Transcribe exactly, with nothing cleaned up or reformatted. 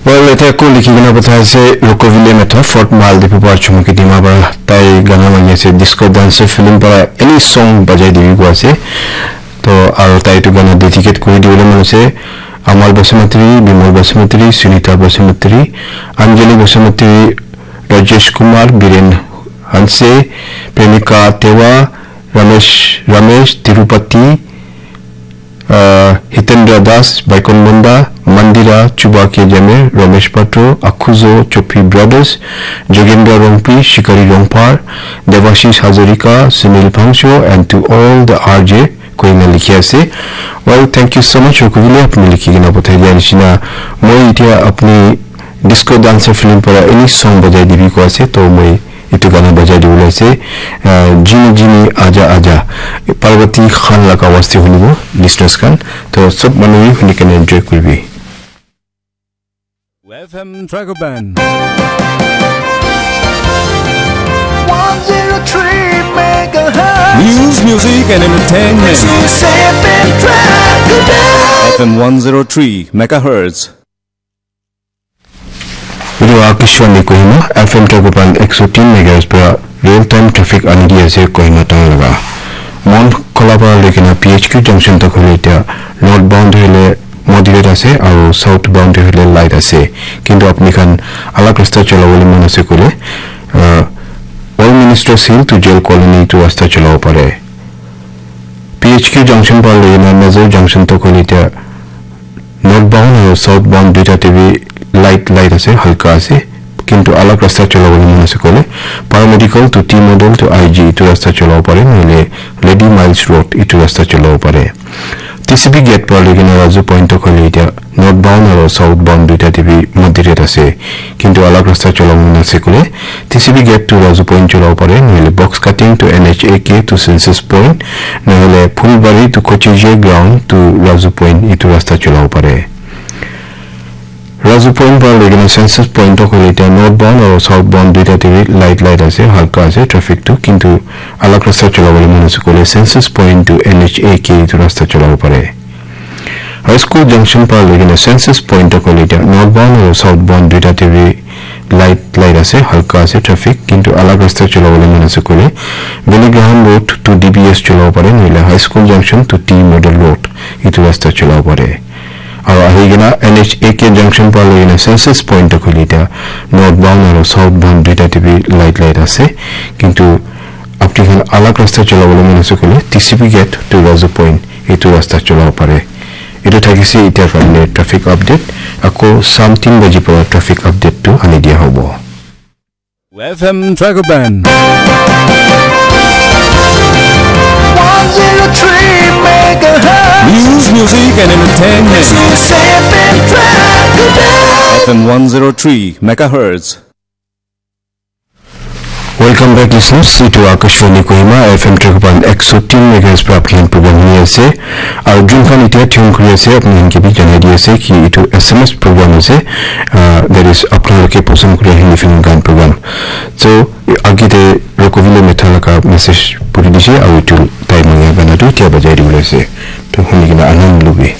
Well, ete ko likhi kena pathai ase, Rokovile Metha, Fort Mile, Diphu Par Chumuki Dima para tai gana mani ase, disco dancer film para any song bajai dibi ko ase. To aru tai tu gana dedicate kuri dibole mon ase, Amal Basumatary, Bimal Basumatary, Sunita Basumatary, Anjali Basumatary, Rajesh Kumar, Biren Hanse, Premika Tewa, Ramesh, Ramesh Tirupati, uh, Hitendra Das, Baikon Munda, Mandira, Chuba K Jame, Ramesh Patro, Akhuzo, Chopi Brothers, Jogendra Rongpi, Shikari Rongpar, Devashish Hazarika, Sunil Pangcho, and to all the R J, koina likhi ase. Well, thank you so much, Rokovile, apni likhi kena pathai dia nishina. Moi itia apni disco dancer film para any song bajai dibi ko ase, to moi etu gana bajai dibole ase, ah, Jini Jini Aja Aja, Parvati Khan laga waste hunibo, listeners khan. To sob manu huni kena enjoy kuribi. F M Dragoban. One zero three megahertz. News, music, and entertainment. This is F M Dragoban. F M one zero three megahertz. Etu Akashvani Kohima, F M Dragoban ek so tin megahertz para real time traffic ani di ase Kohima town laga. Mon Khola para loi kena P H Q junction tak hoile etia north bound hoile moderate ase aru south bound hoile light ase. Kintu apni khan alag rasta chola bole mon ase koile, uh, All Ministers Hill to Jail Colony etu rasta chola bo pare. P H Q junction para loi kena Nazar junction tak hoile etia north bound aru south bound duita te bi light, light ase, halka ase. Kintu alag rasta chola bole mon ase koile, Paramedical to T Model to I G etu rasta chola bo pare, nohole Lady Miles Road etu rasta chola bo pare. T C B gate para loi kena Razu Point tak hoile etia north bound aru south bound duita te bi moderate ase. Kintu alag rasta chola bole mon ase koile, T C B gate to Razu Point chola bo pare, nohole box cutting to N H A K to Census Point, nohole Phulbari to Kochije ground to Razu Point etu rasta chola bo pare. Razu Point para loi kena Census Point tak hoile etia north bound aru south bound duita te bi light, light ase, halka ase traffic tu, kintu alag rasta chola bole mon ase koile Census Point to N H A K etu rasta chola bo pare. High School junction para loi kena Census Point tak hoile etia north bound aru south bound duita te bi light, light ase, halka ase traffic, kintu alag rasta chola bole mon ase koile Billy Graham Road to D B S chola bo pare, nohole High School junction to T Model Road etu rasta chola bo pare. Aru ahi kena N H A K junction para loi kena Census Point tak hoile etia north bound aru south bound duita te bi light, light ase, kintu apni khan alag rasta chola bole mon ase koile T C B gate to Razu Point etu rasta chola bo pare. Etu thakise etia karne traffic update. Ako sam tin baji para traffic update tu ani dia hobo. F M Dragoban. One zero three megahertz. News, music, and entertainment. This is F M Dragoban. F M one zero three megahertz. Welcome back, listeners. Etu Akashvani Kohima, F M Dragoban ek so tin megahertz para apni khan program huni ase. Aru jun khan etia tune kuri ase, apni khan ke bi janai di ase ki etu S M S program ase. Ah, that is, apni khan ke pasand kuri Hindi film gan program. So, age te Rokovile Metha laga message puri dise, aru etu tai mangya gana tu etia bajai dibole ase. To huni kena anand lobi.